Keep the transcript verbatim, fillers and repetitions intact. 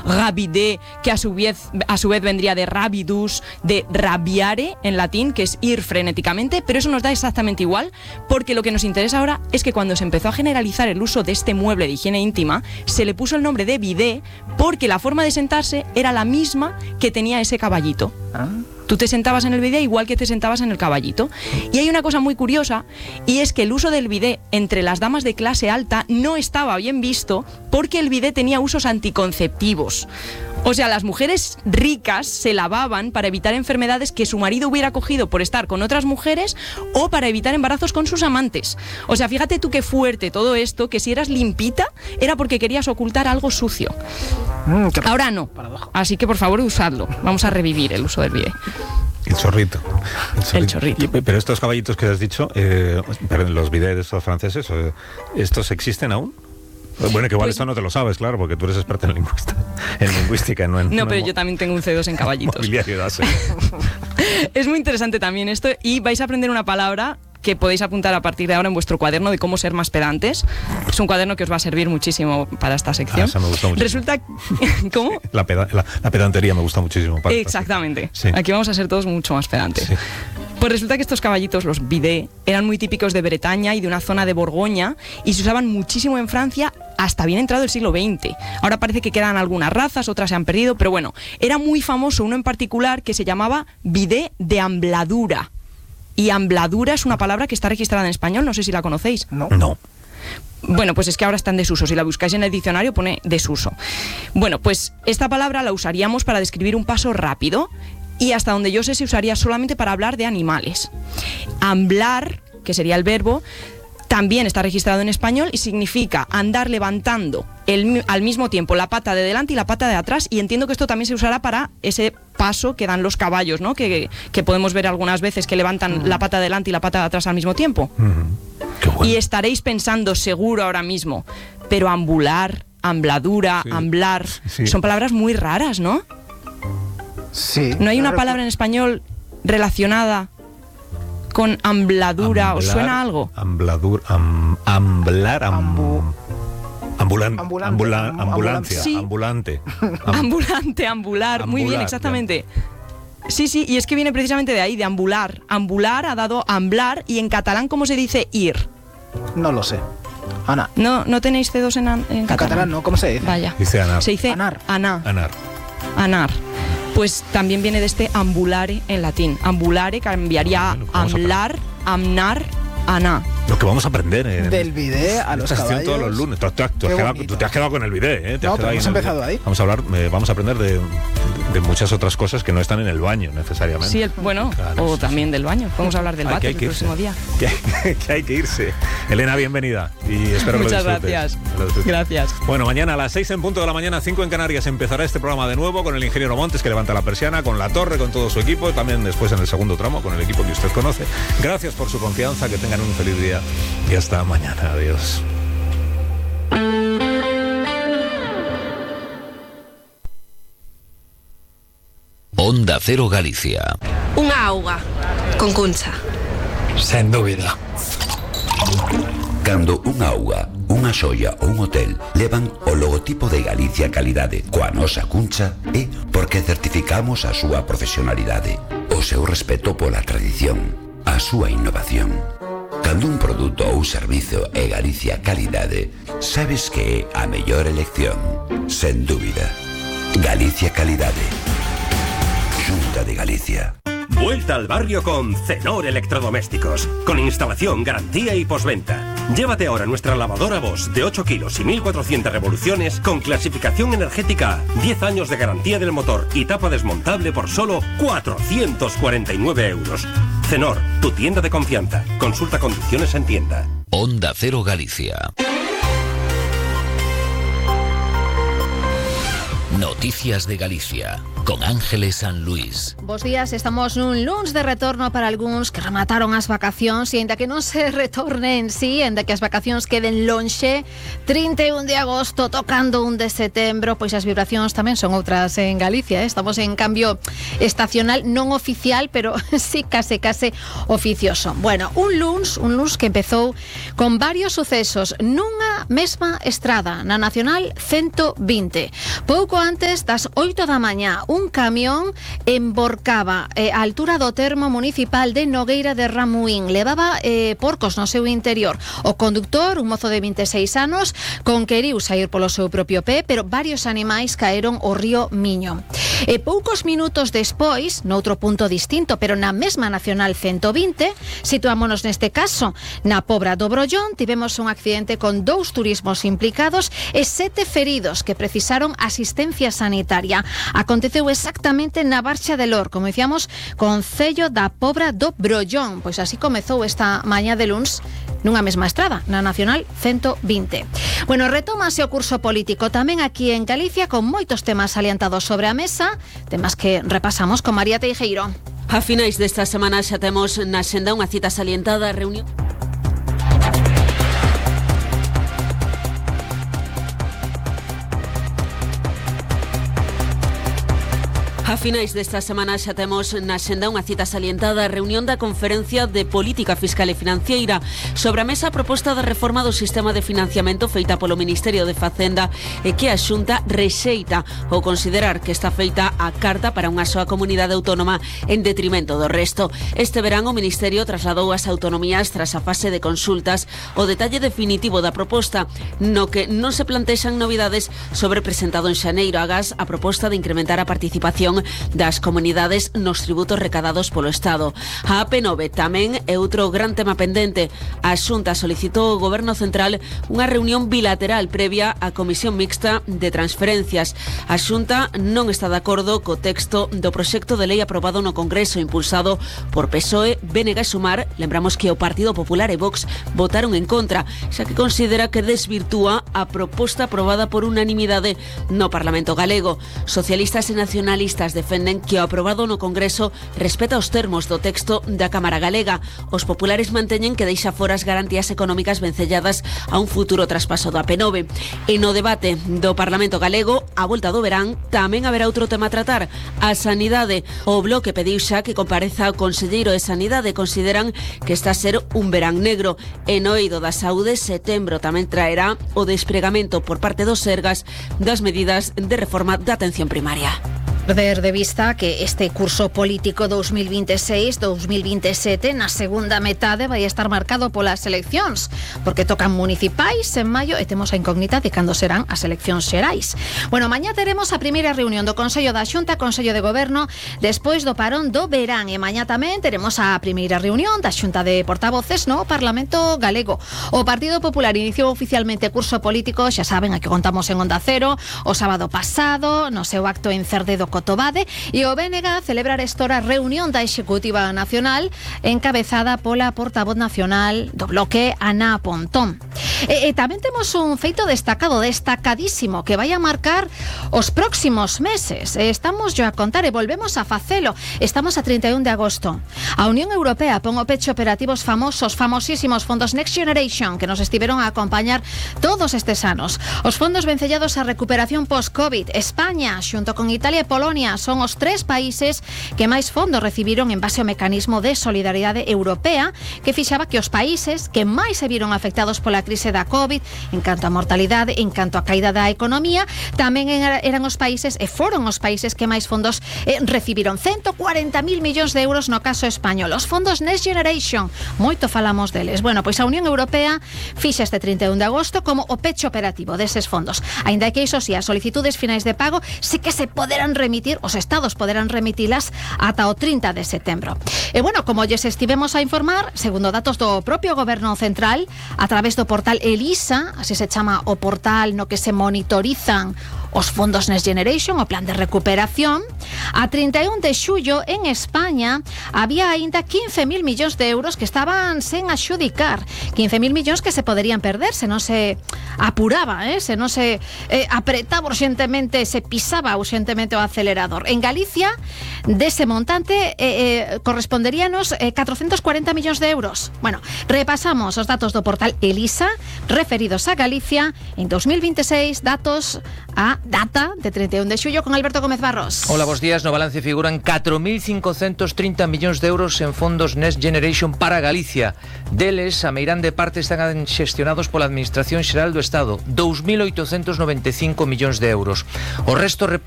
rabide, que a su vez, a su vez vendría de rabidus, de rabiare en latín, que es ir frenéticamente, pero eso nos da exactamente igual, porque lo que nos interesa ahora es que cuando se empezó a generalizar el uso de este mueble de higiene íntima, se le puso el nombre de bidé porque la forma de sentarse era la misma que tenía ese caballito. ¿Ah? Tú te sentabas en el bidé igual que te sentabas en el caballito. Y hay una cosa muy curiosa, y es que el uso del bidé entre las damas de clase alta no estaba bien visto porque el bidé tenía usos anticonceptivos. O sea, las mujeres ricas se lavaban para evitar enfermedades que su marido hubiera cogido por estar con otras mujeres o para evitar embarazos con sus amantes. O sea, fíjate tú qué fuerte todo esto, que si eras limpita era porque querías ocultar algo sucio. Mm, Ahora no. Paradoja. Así que por favor usadlo. Vamos a revivir el uso del bidé. El chorrito. El chorrito. El chorrito. Pero estos caballitos que has dicho, eh, los bidés estos franceses, ¿estos existen aún? Bueno, que igual pues, esto no te lo sabes, claro, porque tú eres experta en, lingüista, en lingüística. No, en, no, no pero en, yo también tengo un C dos en caballitos. Es muy interesante también esto, y vais a aprender una palabra que podéis apuntar a partir de ahora en vuestro cuaderno de cómo ser más pedantes. Es un cuaderno que os va a servir muchísimo para esta sección. Ah, esa me gusta muchísimo. Resulta... ¿Cómo? La, peda, la, la pedantería me gusta muchísimo. Para Exactamente. Sí. Aquí vamos a ser todos mucho más pedantes. Sí. Pues resulta que estos caballitos, los bidé, eran muy típicos de Bretaña y de una zona de Borgoña, y se usaban muchísimo en Francia hasta bien entrado el siglo veinte. Ahora parece que quedan algunas razas, otras se han perdido, pero bueno, era muy famoso uno en particular que se llamaba bidé de ambladura. Y ambladura es una palabra que está registrada en español, no sé si la conocéis. No. No. Bueno, pues es que ahora está en desuso. Si la buscáis en el diccionario pone desuso. Bueno, pues esta palabra la usaríamos para describir un paso rápido, y hasta donde yo sé se usaría solamente para hablar de animales. Amblar, que sería el verbo, también está registrado en español y significa andar levantando el, al mismo tiempo la pata de delante y la pata de atrás, y entiendo que esto también se usará para ese paso que dan los caballos, ¿no? Que, que podemos ver algunas veces que levantan uh-huh. la pata de delante y la pata de atrás al mismo tiempo. Uh-huh. Qué bueno. Y estaréis pensando seguro ahora mismo, pero ambular, ambladura, sí. amblar, sí. son palabras muy raras, ¿no? Sí. ¿No hay una palabra en español relacionada con ambladura? Amblar, ¿os suena algo? Ambladur, am, amblar, am, Ambu, ambulan, ambulante, ambula, am, ambulancia, sí. ambulante. Am, ambulante, ambular, ambular, muy bien, exactamente. Ya. Sí, sí, y es que viene precisamente de ahí, de ambular. Ambular ha dado amblar, y en catalán, ¿cómo se dice ir? No lo sé. Ana. ¿No, no tenéis C dos en, en catalán? En catalán no, ¿cómo se dice? Vaya. Dice anar. Se dice anar. Anar. Anar. Anar. Pues también viene de este ambulare en latín. Ambulare cambiaría a amblar, amnar, aná. Lo que vamos a aprender en del bidé a los caballos. Todos los lunes. Tú, tú, tú, has quedado, tú te has quedado con el bidé, ¿eh? Te no, pero hemos ahí empezado ahí. Vamos a hablar, eh, vamos a aprender de, de muchas otras cosas que no están en el baño necesariamente. Sí, el, bueno, claro, o sí, también sí. del baño. Podemos hablar del váter el próximo día. Que hay, que hay que irse. Elena, bienvenida. Y espero Muchas que lo gracias. Lo gracias. Bueno, mañana a las seis en punto de la mañana, cinco en Canarias, empezará este programa de nuevo con el ingeniero Montes, que levanta la persiana, con La Torre, con todo su equipo, también después en el segundo tramo con el equipo que usted conoce. Gracias por su confianza, que tengan un feliz día y hasta mañana. Adiós. Onda Cero Galicia. Unha auga con Cuncha. Sen dúbida. Cando unha auga, unha xoia ou un hotel levan o logotipo de Galicia Calidade coa nosa Cuncha, é porque certificamos a súa profesionalidade, o seu respeto pola tradición, a súa innovación. Cando un produto ou servizo é Galicia Calidade, sabes que é a mellor elección, sen dúbida. Galicia Calidade. Xunta de Galicia. Vuelta al barrio con Cenor Electrodomésticos, con instalación, garantía y postventa. Llévate ahora nuestra lavadora Bosch de ocho kilos y mil cuatrocientas revoluciones con clasificación energética, diez años de garantía del motor y tapa desmontable por solo cuatrocientos cuarenta y nueve euros. Cenor, tu tienda de confianza. Consulta condiciones en tienda. Onda Cero Galicia. Noticias de Galicia, con Ángeles San Luis. Bos días, estamos nun luns de retorno para algúns que remataron as vacacións, e ainda que non se retorne en sí, ainda que as vacacións queden lonxe, trinta e un de agosto tocando un de setembro, pois as vibracións tamén son outras en Galicia, eh? Estamos en cambio estacional, non oficial, pero sí case case oficioso. Bueno, un luns, un luns que empezou con varios sucesos nunha mesma estrada, na Nacional ciento vinte. Pouco antes das oito da mañá, un camión emborcaba eh, a altura do termo municipal de Nogueira de Ramuín. Levaba eh, porcos no seu interior. O conductor, un mozo de vinte e seis anos, conqueriu sair polo seu propio pé, pero varios animais caeron ao río Miño. E poucos minutos despois, noutro punto distinto, pero na mesma Nacional ciento vinte, situámonos neste caso na Pobra do Brollón, tivemos un accidente con dous turismos implicados e sete feridos que precisaron asistencia sanitaria. Aconteceu exactamente na Barxa de Lor, como dicíamos, concello da Pobra do Brollón. Pois así comezou esta mañá de luns nunha mesma estrada, na Nacional ciento vinte. Bueno, retómase o curso político tamén aquí en Galicia con moitos temas salientados sobre a mesa, temas que repasamos con María Teijeiro. A finais desta semana xa temos na xenda unha cita salientada, reunión. A finais desta semana xa temos na xenda unha cita salientada, a reunión da Conferencia de Política Fiscal e Financiera. Sobre a mesa a proposta de reforma do sistema de financiamento feita polo Ministerio de Facenda e que a Xunta rexeita ou considerar que está feita a carta para unha soa comunidade autónoma en detrimento do resto. Este verán o Ministerio trasladou ás autonomías tras a fase de consultas o detalle definitivo da proposta, no que non se plantexan novidades sobre presentado en xaneiro. Agás a proposta de incrementar a participación das comunidades nos tributos recadados polo Estado. A A P nove tamén é outro gran tema pendente. A Xunta solicitou ao Goberno Central unha reunión bilateral previa á Comisión Mixta de Transferencias. A Xunta non está de acordo co texto do proxecto de lei aprobado no Congreso impulsado por P S O E, B N G e Sumar. Lembramos que o Partido Popular e Vox votaron en contra, xa que considera que desvirtúa a proposta aprobada por unanimidade no Parlamento galego. Socialistas e nacionalistas defenden que o aprobado no Congreso respeta os termos do texto da Cámara Galega. Os populares manteñen que deixa fora as garantías económicas vencelladas a un futuro traspaso do A P nove. E no debate do Parlamento galego, a volta do verán, tamén haberá outro tema a tratar, a sanidade. O Bloque pediu xa que compareza o conselleiro de Sanidade. Consideran que está a ser un verán negro. E no eido da saúde, setembro tamén traerá o despregamento por parte dos Sergas das medidas de reforma da atención primaria. Perder de vista que este curso político dos mil veintiséis dos mil veintisiete na segunda metade vai estar marcado polas eleccións, porque tocan municipais en maio e temos a incógnita de cando serán as eleccións xerais. Bueno, mañá teremos a primeira reunión do Consello da Xunta, Consello de Goberno, despois do parón do verán, e mañá tamén teremos a primeira reunión da Xunta de Portavoces no Parlamento galego. O Partido Popular iniciou oficialmente curso político, xa saben, aquí contamos en Onda Cero, o sábado pasado, no seu acto en Cerdedo Cotobade, e o B N G celebrar estora reunión da Executiva Nacional encabezada pola portavoz nacional do bloque, Ana Pontón. E, e tamén temos un feito destacado, destacadísimo, que vai a marcar os próximos meses. E estamos yo a contar e volvemos a facelo. Estamos a trinta e un de agosto. A Unión Europea pon o pecho operativos famosos, famosísimos fondos Next Generation, que nos estiveron a acompañar todos estes anos. Os fondos vencellados á recuperación post-COVID. España, xunto con Italia e Polonia, son os tres países que máis fondos recibiron en base ao mecanismo de solidaridade europea, que fixaba que os países que máis se viron afectados pola crise da COVID, en canto a mortalidade, en canto a caída da economía, tamén eran os países e foron os países que máis fondos eh, recibiron. ciento cuarenta mil millóns de euros no caso español. Os fondos Next Generation, moito falamos deles. Bueno, pois a Unión Europea fixa este trinta e un de agosto como o pecho operativo deses fondos. Aínda que iso si, as solicitudes finais de pago sí que se poderán remitir, os estados poderán remitilas ata o trinta de setembro. E bueno, como lles estivemos a informar, segundo datos do propio Goberno Central, a través do portal Elisa, así se chama o portal no que se monitorizan os fondos Next Generation, o plan de recuperación, a trinta e un de xullo en España había aínda quince mil millóns de euros que estaban sen axudicar, quince mil millóns que se poderían perder se non se apuraba, eh? se non se eh, apretaba urxentemente, se pisaba urxentemente o acelerador. En Galicia, dese montante eh, eh, corresponderíanos eh, catrocentos cuarenta millóns de euros. Bueno, repasamos os datos do portal Elisa referidos a Galicia en dos mil veintiséis, datos a data de treinta y uno de xullo con Alberto Gómez Barros. Hola, bos días. No balance figuran catro mil cincocentos trinta millóns de euros en fondos Next Generation para Galicia. Deles, a meirande de parte están xestionados pola Administración Xeral do Estado, dous mil oitocentos noventa e cinco millóns de euros. O resto reparte